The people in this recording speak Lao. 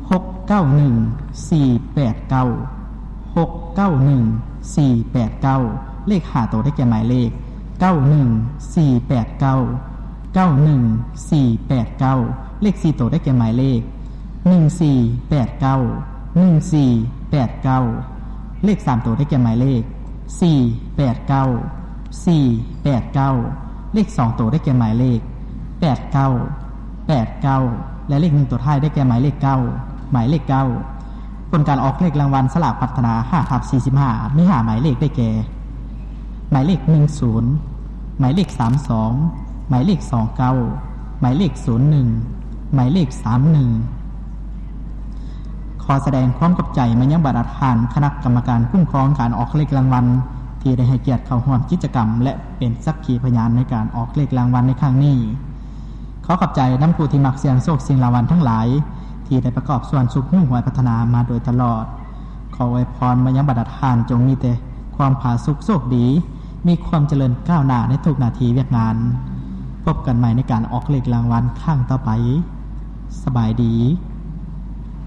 ຫົກເກົ້າໜຶ່ງສີ່ແປດເກົ້າ ຫົກເກົ້າໜຶ່ງສີ່ແປດເກົ້າ ເລກຫ້າໂຕໄດ້ແກ່ໝາຍເລກ ເກົ້າໜຶ່ງສີ່ແປດເກົ້າ ເກົ້າໜຶ່ງສີ່ແປດເກົ້າ ເລກສີ່ໂຕໄດ້ແກ່ໝາຍເລກ ໜຶ່ງສີ່ແປດເກົ້າ ໜຶ່ງສີ່ແປດເກົ້າ ເລກສາມໂຕໄດ້ແກ່ໝາຍເລກ ສີ່ແປດເກົ້າ ສີ່ແປດເກົ້າ ເລກສອງໂຕໄດ້ແກ່ໝາຍເລກ ແປດເກົ້າ ແປດເກົ້າ ແລະ ເລກໜຶ່ງໂຕທ້າຍໄດ້ແກ່ໝາຍເລກ ເກົ້າ ໝາຍເລກ ເກົ້າ. ຜົນການອອກເລກລາງວັນສະຫຼາກພັດທະນາ ຫ້າທັບສີ່ສິບຫ້າ ມີຫ້າໝາຍເລກໄດ້ແກ່ ໝາຍເລກ ໜຶ່ງສູນ ໝາຍເລກ ສາມສອງ ໝາຍເລກ ສອງເກົ້າ ໝາຍເລກ ສູນໜຶ່ງ ໝາຍເລກ ສາມໜຶ່ງ. ຂໍສະແດງຄວາມຂອບໃຈມາຍັງບັນດາທ່ານຄະນະກຳມະການຄຸ້ມຄອງການອອກເລກລາງວັນ ທີ່ໄດ້ໃຫ້ກຽດເຂົ້າຮ່ວມກິດຈະກຳ ແລະ ເປັນສັກຂີພະຍານໃນການອອກເລກລາງວັນໃນຄັ້ງນີ້. ຂໍຂອບໃຈນຳຜູ້ທີ່ມັກສ່ຽງໂຊກສ່ຽງລາງວັນທັງຫຼາຍ ທີ່ໄດ້ປະກອບສ່ວນຊຸກຍູ້ຫວຍພັດທະນາມາໂດຍຕະຫຼອດ. ຂໍອວຍພອນມາຍັງບັນດາທ່ານ ຈົ່ງມີແຕ່ຄວາມຜາສຸກໂຊກດີ, ມີຄວາມຈະເລີນກ້າວໜ້າໃນທຸກໜ້າທີ່ວຽກງານ. ພົບກັນໃໝ່ໃນການອອກເລກລາງວັນຄັ້ງຕໍ່ໄປ. ສະບາຍດີ.